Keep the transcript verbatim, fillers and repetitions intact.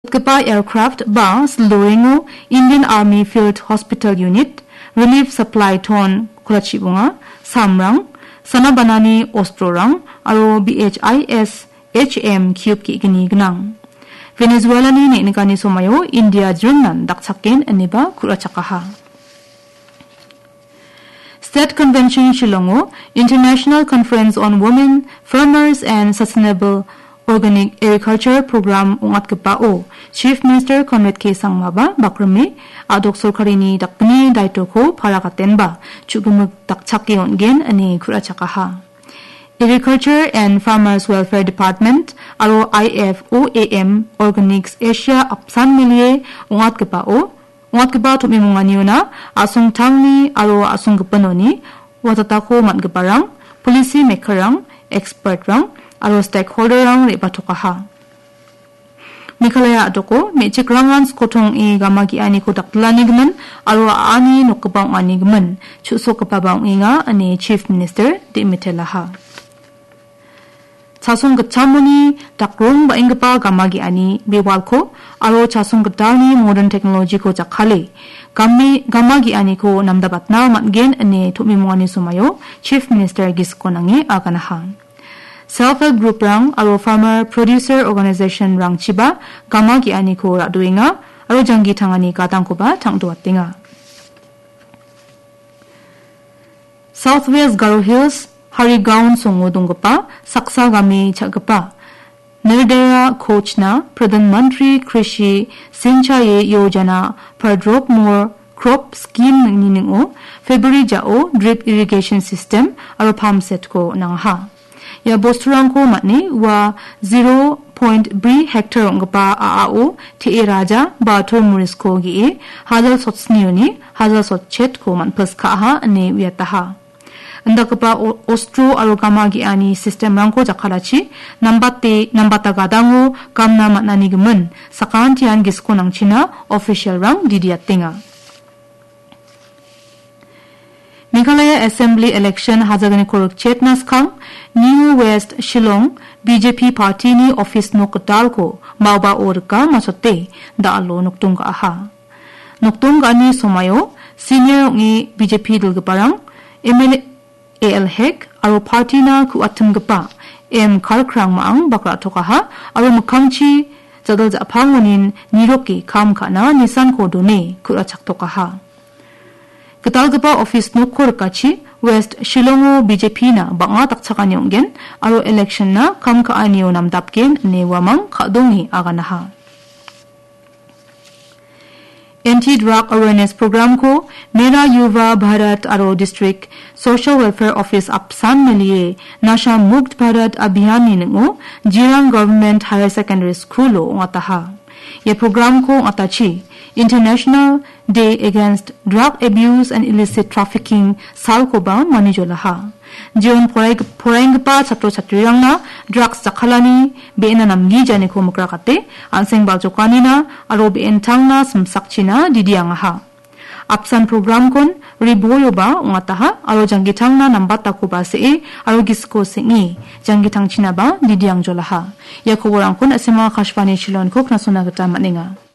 Gipa aircraft ba sildorengo Indian Army Field Hospital Unit, Relief Supply Ton kolachibonga, samrang, sanabanani ostrorang, aro B H I S H M cube ge·gni gnang. Venezuelani neng·nikani somaio India jringnan dakchaken ineba ku·rachakaha. State Convention Shillongo International Conference on Women Farmers and Sustainable Organic Agriculture Program ong·atgipao Chief Minister Conrad K Sangmaba bakrime a·dok sorkarini dakgni daitoko paragatenba chu·gimik dakchake on·gen ine ku·rachakaha. Agriculture and Farmers Welfare Department aro I F O A M Organics Asia apsan melie ong·atgipao ong·atgipa tom·imonganiona a·songtangni aro a·songgipinoni watatako man·giparang, policy makerrang, expertrang aro stakeholderrang re·batokaha. Meghalaya a·doko me·chikrangan skotong ong·e gama ge·aniko dakdilanigimin aro a·ani nokgipa ong·anigimin chu·sokgipaba ong·enga ine Chief Minister de·mitelaha. Chasong gitchamoni dakrong ba·enggipa gama ge·ani bewalko aro chasong gitalni modern technology-ko jakkale game, gama ge·aniko namdabatna man·gen ine tom·imongani somaio Chief Minister gisiko nange aganaha. Self Help Group-rang aro Farmer Producer Organization-rangchiba gama ge·aniko ra·doenga aro janggi tangani gadangkoba tang·doatenga. South West Garo Hills, Harigaon songo donggipa saksa game cha·gipa Nirdaya Kochna Pradhan Mantri Krishi Sinchayi Yojana Pardrop More Crop Scheme-ni ning·o February ja·o drip irrigation system aro pump set-ko nangaha. Ia bosturangko man·e ua zero point bri hektar ong·gipa a·ao te·e raja ba tormorisko ge·e, hajal sotsnioni hajal sotchetko man·pilskaha ine uiataha. Indakgipa o-, ostro aro gama ge·ani sistemrangko jakkalachi nambate, nambata gadango gamna man·anigimin sakantian gisiko nangchina ofisialrang didiatenga. Meghalaya Assembly election hajalgniko rikchetna skang, New West Shillong B J P party-ni office nok gitalko maobao rika machote da·alo nokdong ga·aha. Nokdong ga·ani somaio senior ong·e B J P dilgiparang M L A A L Hek aro party-na ku·atimgipa M Karkrang ma·ang bak ra·tokaha aro mikkangchi jadal ja·pangonin niroke kam ka·na nisanko done ku·rachaktokaha. Gitalgipa office nokko rikachi West Shillongo B J P-na bang·a dakchakani ong·gen aro election-na kam ka·anio namdapgen ine uamang ka·donge aganaha. Anti-drug awareness program-ko Mera Yuva Bharat aro District Social Welfare Office apsan melie Nasha Mukt Bharat Abhiyan-ni ning·o Jirang Government Higher Secondary School-o ong·ataha. Ia program-ko ong·atachi International Day Against Drug Abuse and Illicit Trafficking salkoba manijolaha. Jeon porai-, poraenggipa chatro chatrirangna drugs jakkalani be·ena namgijaniko mikrakate, an·seng baljokanina aro be·entangna simsakchina didiangaha. Apsan programkon riboyoba ong·ataha aro janggitangna nambatakoba se·e aro gisiko seng·e janggitangchinaba didiangjolaha. Ia koborangkon S M R Akashvani Shillongko knasona gita man·enga.